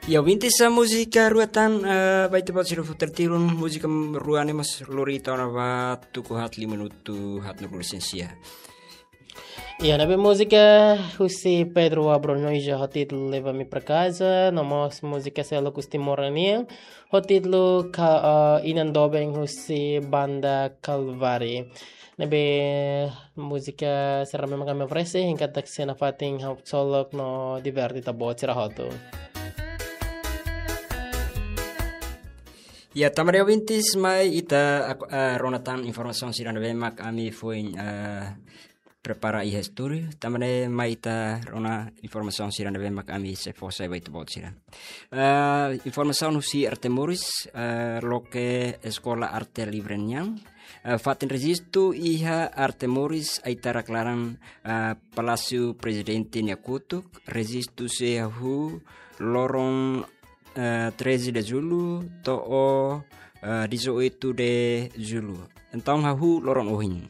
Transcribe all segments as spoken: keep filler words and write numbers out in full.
Ya, ouvintes, múzika rua tan, eh, ba ita-boot sira futar tilun, múzika rua ne'e mós lori ita ona ba tuku haat lima minutu haat no lisensia. Ya, ne'ebé múzika husi Pedro Abreu Noija ho títulu Leva-me pra casa, no mós múzika seluk husi Timor nian, ho títulu Ka-, eh, Inan Doben husi Banda Kalvari. Ne'ebé múzika sira-ne'e mak ami oferese, hein katak sei nafatin haksolok no diverte ita-boot sira hotu. Ya, tanba ne'e ouvintes, mai ita ak-, eh, rona tan informasaun sira ne'ebé mak ami foin, eh, prepara iha estúdiu. Tanba ne'e mai ita rona informasaun sira ne'ebé mak ami sei fó sai ba ita-boot sira. Eh, informasaun husi Arte Moris, eh, loke Eskola Arte Livre nian. Eh, fatin rejistu iha Arte Moris, aitarak laran, eh, Palásiu Prezidente nia kotuk, rejistu sei hahú loron, eh, treze de Julho to'o, eh, dezoito de Julho. Entaun hahú loron ohin.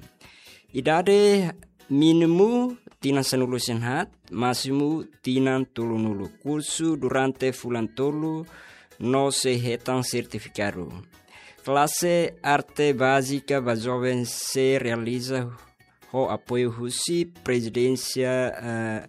Idade mínimu tinan sanulu-resin-haat, másimu tinan tolunulu. Kursu durante fulan tolu no sei hetan sertifikadu. Klase arte bázika ba joven sei realiza ho apoiu husi Prezidénsia, eh,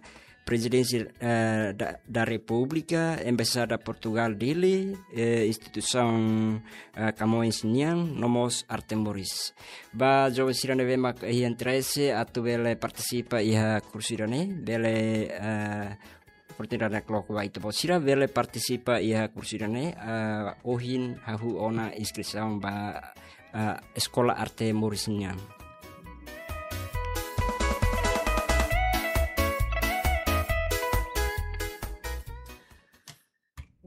Prezidénsia, eh, da, da Repúblika, Embaixada Portugal Dili, eh, instituisaun, eh, Camões nian, no mós Arte Moris. Ba joven sira ne'ebé mak iha interese atu bele partisipa iha kursu ida-ne'e, bele, eh, oportunidade ne'e loke ba ita-boot sira bele partisipa iha kursu ida-ne'e, eh, ohin hahú ona inskrisaun ba, eh, Eskola Arte Moris nian.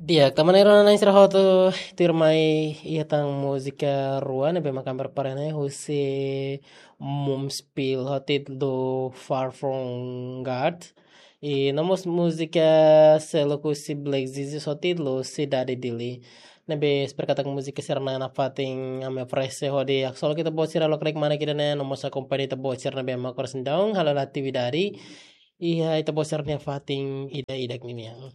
Di'ak, tanba ne'e rona-na'in sira hotu, tuirmai iha tan múzika rua ne'ebé mak ami prepara ne'e husi Mumspil ho títulu Far From God. I no mós múzika seluk husi Black Jesus ho títulu Sidade Dili. Ne'ebé espera katak múzika sira-ne'e nafatin ami oferese hodi haksolok ita-boot sira lokraik manek ida-ne'e, no mós akompaña ita-boot sira ne'ebé mak oras ne'e daudaun halo atividade iha ita-boot sira-nia fatin ida-idak ninian.